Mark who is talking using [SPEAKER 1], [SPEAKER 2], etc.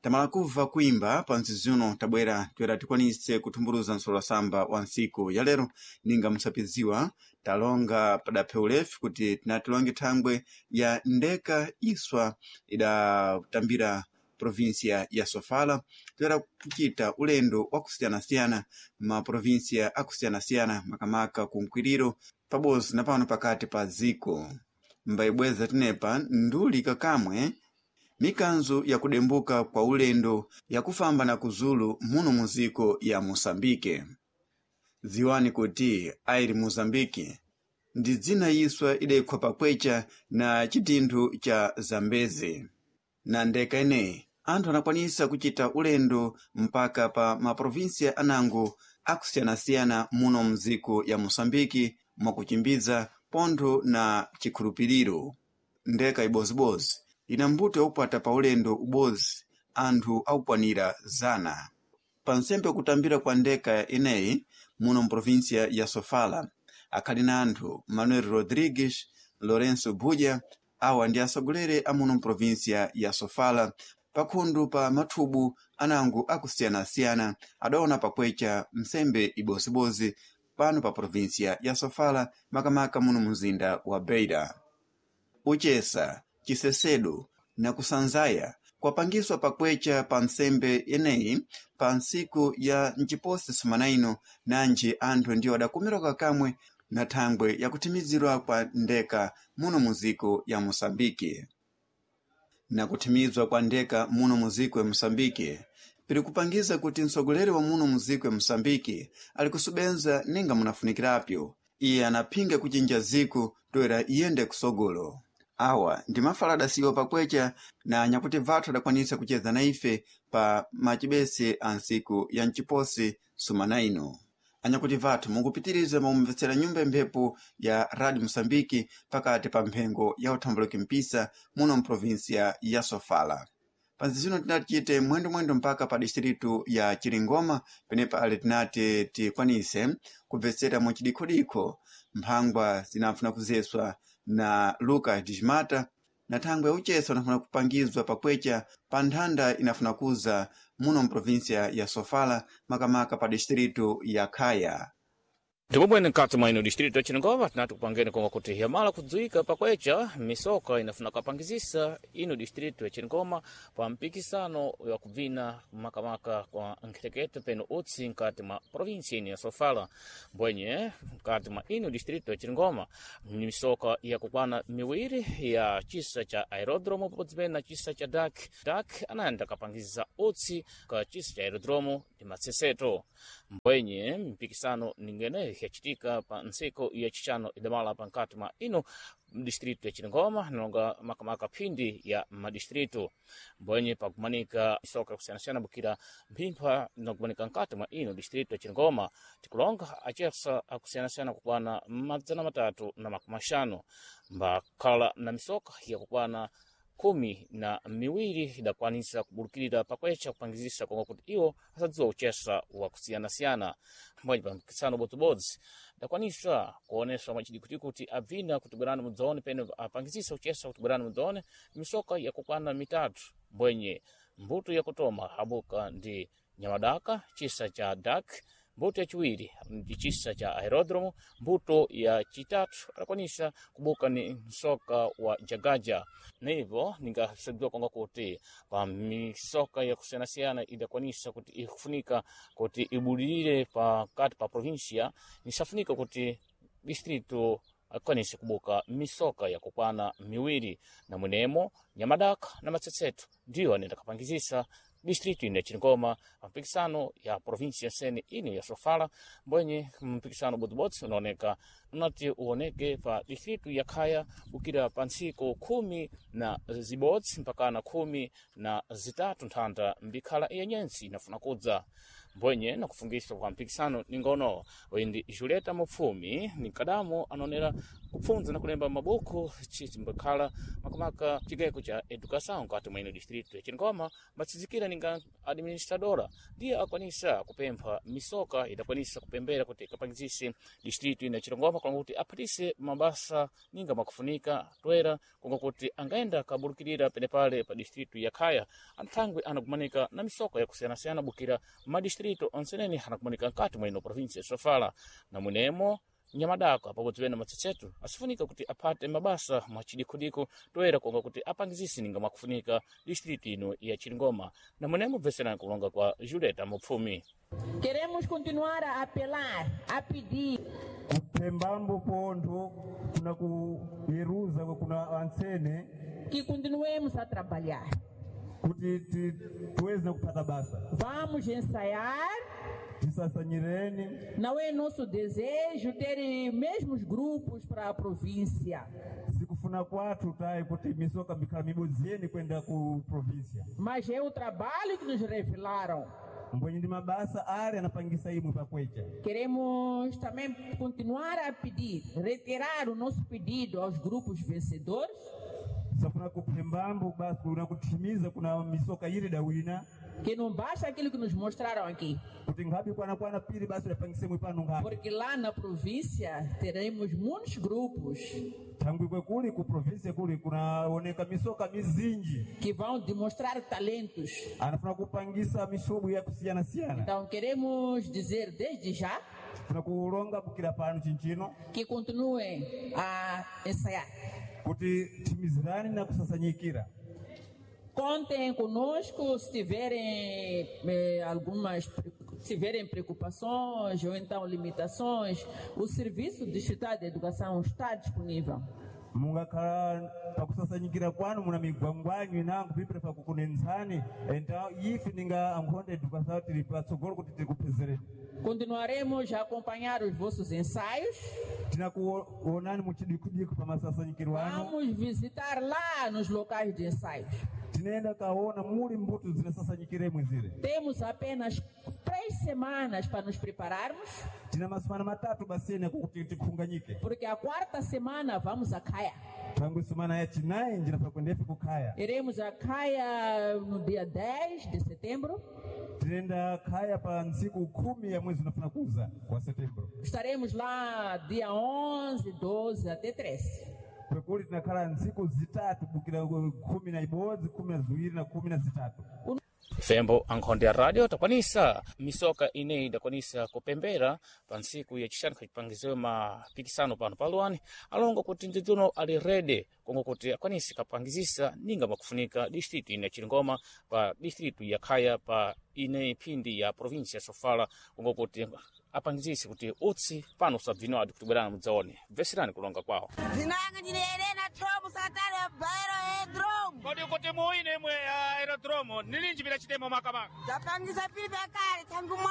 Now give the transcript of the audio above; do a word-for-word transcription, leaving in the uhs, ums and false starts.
[SPEAKER 1] Tamala kubva kuimba pa mzizi uno, tabwera toera tikwanise kuthumbuluza msolwasamba wa ntsiku ya lero. Ninga musapidziwa, talonga padaphe ulefu kuti tinatilonge thangwe ya ndeka iswa idatambira provinsia ya Sofala, toera kucita ulendo wakusiyanasiyana ma provinsia akusiyanasiyana, makamaka kunkwiriro pabodzi na pano pakati pa dziko. Mbayibweza tinepa nduli kakamwe mikanzo yakudembuka kwa ulendo yakufamba na kuzulu muno muziko ya Moçambique. Dziwani kuti airi Moçambique ndi dzina iswa idayikhwa pakwecha na chitinthu cha Zambezi. Na ndeka ineyi anthu anakwanisa kuchita ulendo mpaka pa maprovinsia anango akusiyanasiyana muno mdziko ya Moçambique mwakuchimbidza pontho na chikhulupiriro. Ndeka ibozibodzi ina mbuto yaupata pa ulendo ubodzi anthu akukwanira zana. Pa nsembe kutambira kwa ndeka ineyi muno mprovinsia ya Sofala akhali na anthu Manuel Rodrigues, Lourenço Buja, awa ndi atsogoleri a muno mprovinsia ya Sofala pakhundu pa mathubu anango akusiyanasiyana adaona pakwecha msembe ibozibodzi pano pa provinsia ya Sofala, makamaka muno mzinda wa Beira. Uchesa chisesedo na kusanzaya kwapangiswa pakwecha pa nsembe ineyi pa ntsiku ya mciposi sumana ino, nanji anthu ndiwo adakomerwa kamwe na thangwe yakuthimizirwa kwa ndeka muno muziko ya Moçambique. Na kuthimizwa kwa ndeka muno muziko ya Moçambique piri kupangiza kuti mtsogoleri wa muno muziko ya Moçambique ali kusubenza ninga munafunikirapyo. Iye anaphinga kuchinja ziko toera iyende kusogolo. Awa ndi mafala adasiyiwa pakwecha na anyakuti vathu adakwanisa kucheza na ife pa macibese a ntsiku ya mciposi sumana ino. Anyakuti vathu, mukupitiriza mumvetsera nyumba mphepo ya Radio Moçambique pakati pa mphengo ya uthambuluki mpisa muno mprovinsia ya Sofala. Panzi zino tinati tichite mwendomwendo mpaka pa distritu ya Chiringoma, penepa ali tinati tikwanise kubvetsera muchidikhodikho mphangwa zinafuna kuzeswa na Lucas Dismata na thangwe ya ucheso inafuna kupangizwa pakwecha pa nthanda inafuna kuza muno mprovinsia ya Sofala, makamaka pa distritu ya Khaya.
[SPEAKER 2] Ndipo bwene mkati mwa ino distrito ya Chiringoma tinati kupangeni konga kuti yamala kudziwika pakwecha misoka inafuna kapangizisa ino distrito ya Chiringoma pa mpikisano wa kubvina makamaka kwa nkhetekete peno utsi mkati mwa provinsia ino ya Sofala. Mbwenye mkati mwa ino distrito ya Chiringoma ni misoka yakukwana miwiri ya chisa cha aerodromo pabodzi pene na chisa cha dak dak anayenda kapangizisa utsi ka chisa cha aerodromo ndi matseseto. Mbwenye mpikisano ningene yachitika pa ntsiko ya chichano idamala pankati mwa ino distrito ya Chiringoma nalonga makamaka phindi ya madistrito. Mbwenye pakumanika isoka kusiyanasiyana bukira mphimpha inakumanika nkati mwa ino distrito ya Chiringoma, tikulonga achesa akusiyanasiyana kukwana madzana matatu na makumi axanu mbakhala na misoka yakukwana khumi na miwiri idakwanisa kubulukirira pakwecha kupangizisa konga kuti iwo asadziwa uchesa wakusiyanasiyana. Mbwenye pa mpikisano bodzibodzi idakwanisa kuoneswa mwachidikuti kuti abvina kuti bwerani mudzaone pene apangizisa uchesa kuti bwerani mudzaone misoka yakukwana mitatu. Mbwenye mbuto yakutoma abuka ndi nyamadaka chisa cha dak, mbuto yachiwiri ndi chisa cha aerodromo, mbuto ya chitatu adakwanisa kubuka ni msoka wa jagaja. Nivo ningasadziwa konga kuti pa misoka yakusiyanasiyana idakwanisa kuti ikufunika kuti ibudilire pakati pa provinsia, nisafunika kuti distrito akwanise kubuka misoka yakukwana miwiri, na mwenemo nyamadaka na matsetseto ndiyo anenda kapangizisa distrito ino ya Chiringoma pa mpikisano ya provinsia sene ino ya Sofala. Mbwenye mpikisano bodzibodzi unaoneka unati uoneke pa distrito ya Khaya bukira pa ntsiko khumi na zibodzi mpakana khumi na zitatu nthanda mbikhala ya nyensi inafuna kudza. Mbwenye na kufungiswa kwa mpikisano ningono windi Julieta Mupfumi ni kadamu anonera kupfunza na kulemba mabuku chimbakhala makamaka chigeko cha educação nkati mwene distrito ya Chingoma matsizikira ninga administradora ndiye akwanisa kupempha misoka idakwanisa kupembera kuti ikapangizise distrito ina Chilongoma kwanga kuti aphatise mabasa ninga makufunika toera kunga kuti angaenda kaburukirira penepale pa distrito ya Khaya anthangwe anakumanika na misoka yakusiyanasiyana bukira madistrito onsenene anakumanika nkati mweno província ya Sofala na mwenemo nyamadako apabodzi wena matsetsetu asifunika kuti aphate mabasa mwachidikudiko toera konga kuti apangizise ninga mwakufunika distrito ino ya Chilingoma na mwenemo bveserani kulonga kwa Julieta Mupfumi.
[SPEAKER 3] Queremos continuar a apelar, a pedir
[SPEAKER 4] kupembambo pontho kuna kuyeruza kuna antsene
[SPEAKER 3] que continuemos a trabalhar.
[SPEAKER 4] kuti ti- tuweze kupata basa
[SPEAKER 3] Vamos ensaiar.
[SPEAKER 4] tisasanyireni
[SPEAKER 3] Não é nosso desejo ter mesmos grupos para a província,
[SPEAKER 4] sikufuna kwathu tayi kuti misoka mikhala mibodzi yeni kwenda ku província
[SPEAKER 3] mas é o trabalho que nos revelaram.
[SPEAKER 4] mbwenye ndi mabasa ali anapangisa imwe pakwecha
[SPEAKER 3] Queremos também continuar a pedir, retirar o nosso pedido aos grupos vencedores,
[SPEAKER 4] safuna kupembambo basi kuna kuthimiza kuna misoka ili dawina
[SPEAKER 3] que não basta aquilo que nos mostraram aqui,
[SPEAKER 4] kuti nkhabe kwanakwana pili basi udapangise imwe pano nkhabe
[SPEAKER 3] porque lá na província teremos muitos grupos
[SPEAKER 4] thangwi kwekuli ku província kuli kunaoneka misoka mizinji
[SPEAKER 3] que vão demonstrar talentos.
[SPEAKER 4] anafuna kupangisa mishobo yakusiyanasiyana
[SPEAKER 3] Então queremos dizer desde já
[SPEAKER 4] funa kulonga bukira pano chinchino
[SPEAKER 3] que continuem a ensaiar.
[SPEAKER 4] kuti thimizirani na kusasanyikira
[SPEAKER 3] Contem conosco se tiverem eh, algumas se tiverem preocupações ou então limitações. O Serviço Distrital de Educação está disponível.
[SPEAKER 4] mungakhala pakusasanyikira kwanu muna migwangwanyu inango pipira pakukunenzani então ife ninga ankhonda educação tili patsogolo kuti tikupezereni
[SPEAKER 3] Continuaremos a acompanhar os vossos ensaios.
[SPEAKER 4] tinakuonani muchidikudiku pa masasanyikiro anu
[SPEAKER 3] Vamos visitar lá nos locais de ensaios.
[SPEAKER 4] tinaenda kaona muli mbuto zinasasanyikiremwe zile
[SPEAKER 3] Temos apenas três semanas para nos prepararmos,
[SPEAKER 4] tina masumana matatu basene kuti tikhunganyike
[SPEAKER 3] porque a quarta semana vamos a Caia.
[SPEAKER 4] thangwi sumana ya chinayi njinafa kwendefe kukhaya
[SPEAKER 3] Iremos a Caia no dia dez de setembro.
[SPEAKER 4] tinaenda khaya pa ntsiku khumi ya mwezi unafuna kuza wa setembro
[SPEAKER 3] Estaremos lá dia onze, doze até treze.
[SPEAKER 4] kwekuli tinakhala ntsiku zitatu bukira khumi na ibodzi khumi na ziwiri na khumi na zitatu
[SPEAKER 2] Fembo ankhonde ya radio takwanisa misoka ineyi idakwanisa kupembera pa ntsiku yacixanu khacipangiziwe mapikisano pano paluwani alongo kuti ndidzuno ali rede kongo kuti akwanise kapangizisa ninga makufunika distritu ine ya Chilingoma pa distritu ya Khaya pa ineyi phindi ya província ya Sofala kongo kuti apangizise kuti utsi pano usabvinwadi kuti bwerani mudzaone bveserani kulonga kwawo
[SPEAKER 5] Zinanga ndine Helena Tromo Satana Bairo Edrom.
[SPEAKER 2] Kodi kuti muine mwe aerodromo nilinji bila chitemo makamaka
[SPEAKER 5] Tapangisa pili pakale tangu mwa